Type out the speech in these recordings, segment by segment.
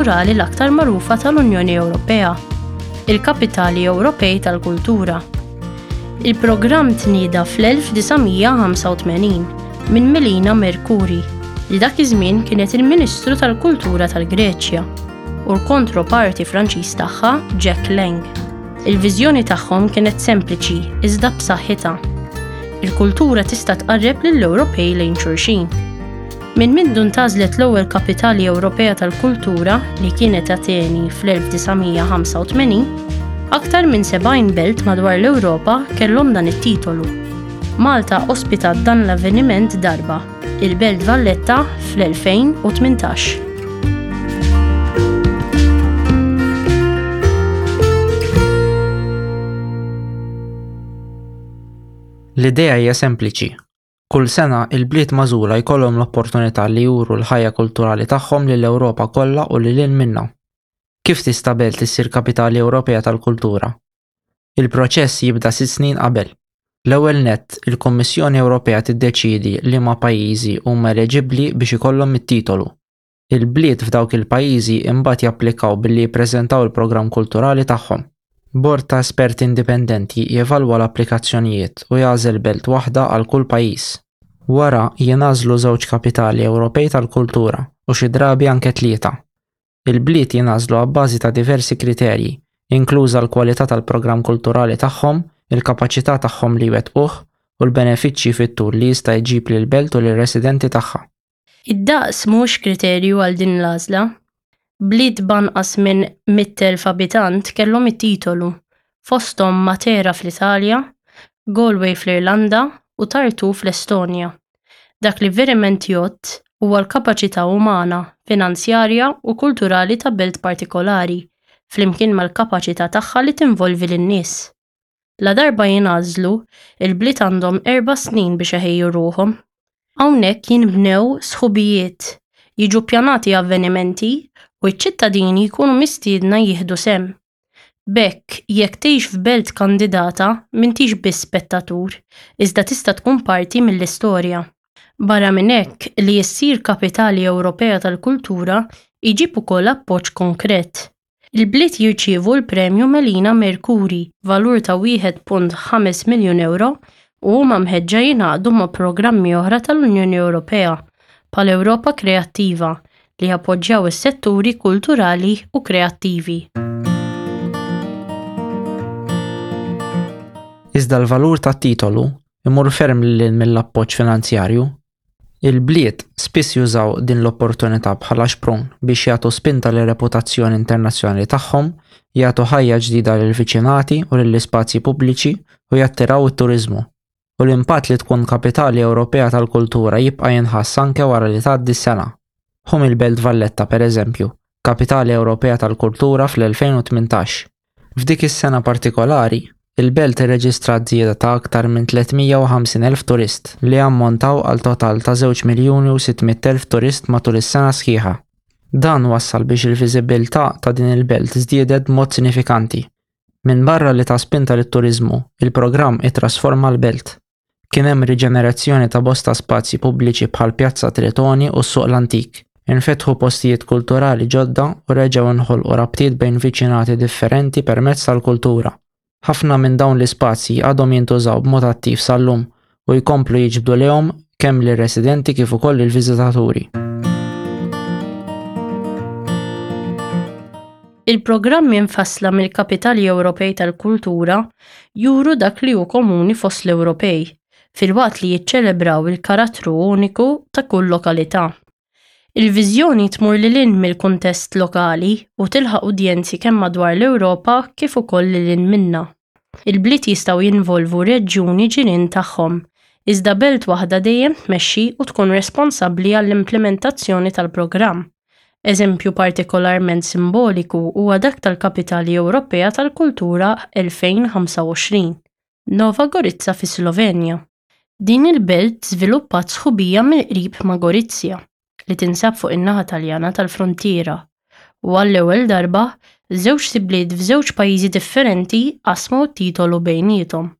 Kulturali l-aktar magħrufa tal-Unjoni Ewropea, il-Kapitali Ewropej tal-Kultura. Il-programm tnieda fl-1985 minn Melina Mercouri, li dak iż-żmien kienet il-Ministru tal-Kultura tal-Greċja, u l-kontroparti Franċiż tagħha Jack Lang. Il-viżjoni tagħhom kienet sempliċi iżda b'saħħitha. Il-kultura tista' tqarreb lill-Ewropej lejn xulxin. Minn mindu ntgħażlet l-ewwel Kapitali Ewropea tal-Kultura, li kienet Ateni fl-1985, aktar minn 70 belt madwar l-Ewropa kellhom dan it-titolu. Malta ospitat dan l-avveniment darba, il-Belt Valletta fl-2018. L-idea hija sempliċi, Kull sena, il-bliet magħżula jkollhom l-opportunità li juru l-ħajja kulturali tagħhom lill-Ewropa kollha u lil hinn minnha. Kif tista' belt issir Kapitali Ewropea tal-Kultura? Il-proċess jibda sitt snin qabel. L-ewwel nett, il-Kummissjoni Ewropea tiddeċiedi liema pajjiżi huma eleġibbli biex ikollhom it-titolu. Il-bliet f'dawk il-pajjiżi imbagħad japplikaw billi jippreżentaw il-programm kulturali tagħhom. Bord ta' esperti indipendenti jevalwa l-applikazzjonijiet u jagħżel belt waħda għal kull pajjiż. Wara, jingħażlu żewġ kapitali Ewropej tal-kultura, u xi drabi anke tlieta. Il-bliet jingħażlu abbażi ta' diversi kriterji, inkluża l-kwalità tal-programm kulturali tagħhom, il-kapaċità tagħhom li jwettquh, u l-benefiċċji fit-tul li jista' jġib lill-belt u lir-residenti tagħha. Id-daqs mhuwiex kriterju għal din l-għażla. Bliet b'anqas minn 100,000 abitant kellhom it-titolu, fosthom Matera fl-Italja, Galway fl-Irlanda u Tartu fl-Estonja. Dak li veriment jgħodd huwa l-kapaċità umana, finanzjarja u kulturali ta' belt partikolari, flimkien mal-kapaċità tagħha li tinvolvi lin-nies. Ladarba jingħażlu, il-bliet għandhom erba' snin biex iħejju ruħhom. Hawnhekk jinbnew sħubijiet, jiġu ppjanati avvenimenti u ċ-ċittadini jkunu mistiedna jieħdu sehem. B'hekk, jekk tgħix f'belt kandidata, m'intix biss spettatur, iżda tista' tkun parti mill-istorja. Barra minn hekk, li ssir Kapitali Ewropea tal-Kultura jġib ukoll appoġġ konkret. Il-bliet jirċievu l-Premju Melina Mercouri, valur ta' 1.5 miljun ewro u huma mħeġġa jingħaqdu ma' programmi oħra tal-Unjoni Ewropea, bħal Ewropa Kreattiva, li jappoġġjaw is-setturi kulturali u kreattivi. Iżda l-valur tat-titolu imur ferm lil hinn mill-appoġġ finanzjarju. Il-bliet spiss jużaw din l-opportunità bħala xprun biex jagħtu spinta lir-reputazzjoni internazzjonali tagħhom, jagħtu ħajja ġdida lill-viċinati u lill-ispazji pubbliċi u jattiraw it-turiżmu. U l-impatt li tkun Kapitali Ewropea tal-Kultura jibqa' jinħass anke wara li tgħaddi s-sena. Ħu mill-Belt Valletta, pereżempju, Kapitali Ewropea tal-Kultura fl-2018. F'dik is-sena partikolari, il-belt irreġistrat żieda ta' aktar minn 350,000 turist, li ammontaw għal total ta' żewġ miljuni u 600,000 turist matul is-sena sħiħa. Dan wassal biex il-viżibbiltà ta' din il-belt żdiedet b'mod sinifikanti. Minbarra li ta spinta lit-turiżmu, il-programm ittrasforma l-belt. Kien hemm riġenerazzjoni ta' bosta spazji pubbliċi bħal Pjazza Tritoni u s-Suq l-Antik. Infetħu postijiet kulturali ġodda u reġgħu nħolqu rabtiet bejn viċinati differenti permezz tal-kultura. Ħafna minn dawn l-ispazji għadhom jintużaw b'mod attiv sal-lum u jkomplu jiġbdu lejhom kemm lir-residenti kif ukoll lill-viżitaturi. Il-programmi mfassla mill-Kapitali Ewropej tal-Kultura juru dak li hu komuni fost l-Ewropej, filwaqt li jiċċelebraw il-karattru uniku ta' kull lokalità. Il-viżjoni tmur lil hinn mill-kuntest lokali u tilħaq udjenzi kemm madwar l-Ewropa kif ukoll lil hinn minnha. Il-bliet jistgħu jinvolvu reġjuni ġirien tagħhom, iżda belt waħda dejjem tmexxi u tkun responsabbli għall-implimentazzjoni tal-programm. Eżempju partikolarment simboliku huwa dak tal-Kapitali Ewropea tal-Kultura 2025, Nova Gorica fis-Slovenja. Din il-belt żviluppat sħubija mill-qrib ma' Gorizia, li tinsab fuq in-naħa Taljana tal-fruntiera, u għall-ewwel darba, żewġt ibliet f'żewġ pajjiżi differenti qasmu t-titolu bejniethom.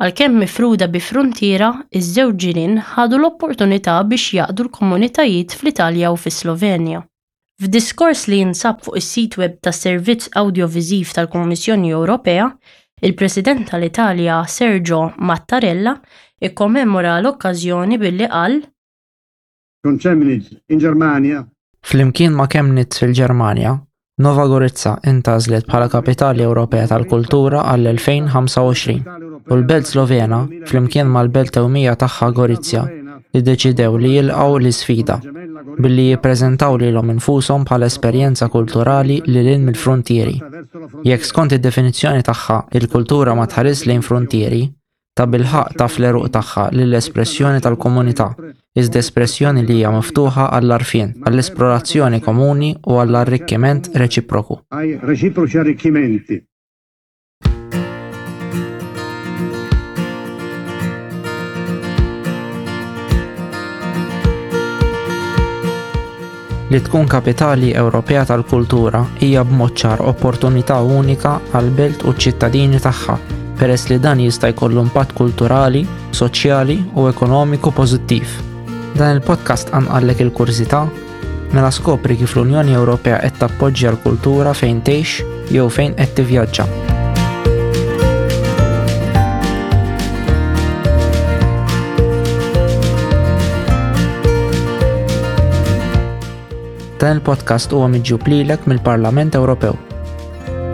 Għalkemm mifruda bi fruntiera, iż-żewġ ġirien ħadu l-opportunità biex jgħaqqdu l-komunitajiet fl-Italja u fis-Slovenja. F'diskors li jinsab fuq is-sit web tas-Servizz Awdjoviżiv tal-Kummissjoni Ewropea, il-President tal-Italja Sergio Mattarella ikkommemora l-okkażjoni billi qal, Con Chemnitz in Germania. Flimkien ma' Chemnitz fil-Ġermanja, Nova Gorica intgħażlet bħala Kapitali Ewropea tal-Kultura għall-2025 u l-belt Slovena, flimkien mal-belt tewmija tagħha Gorizia, iddeċidew li jilqgħu l-isfida billi jippreżentaw lilhom infushom bħala esperjenza kulturali lil hinn mill-fruntieri. Jekk skont id-definizzjoni tagħha il-kultura ma tħarisx lejn fruntieri, tabilħaqq taf l-għeruq tagħha lill-espressjoni tal-komunità, iżda espressjoni li hija miftuħa għall-għarfien, għall-esplorazzjoni komuni u għall-arrikkiment reċiproku. Ai reciproci arricchimenti. Li tkun Kapitali Ewropea tal-Kultura hija b'mod ċar opportunità unika għall-belt u ċ-ċittadini tagħha, peress li dan jista' jkollu impatt kulturali, soċjali u ekonomiku pożittiv. Dan il-podcast qanqallek il-kurżità? Mela skopri kif l-Unjoni Ewropea qed tappoġġja l-kultura fejn tgħix jew fejn qed tivvjaġġa. Dan il-podcast huwa miġjub lilek mill-Parlament Ewropew.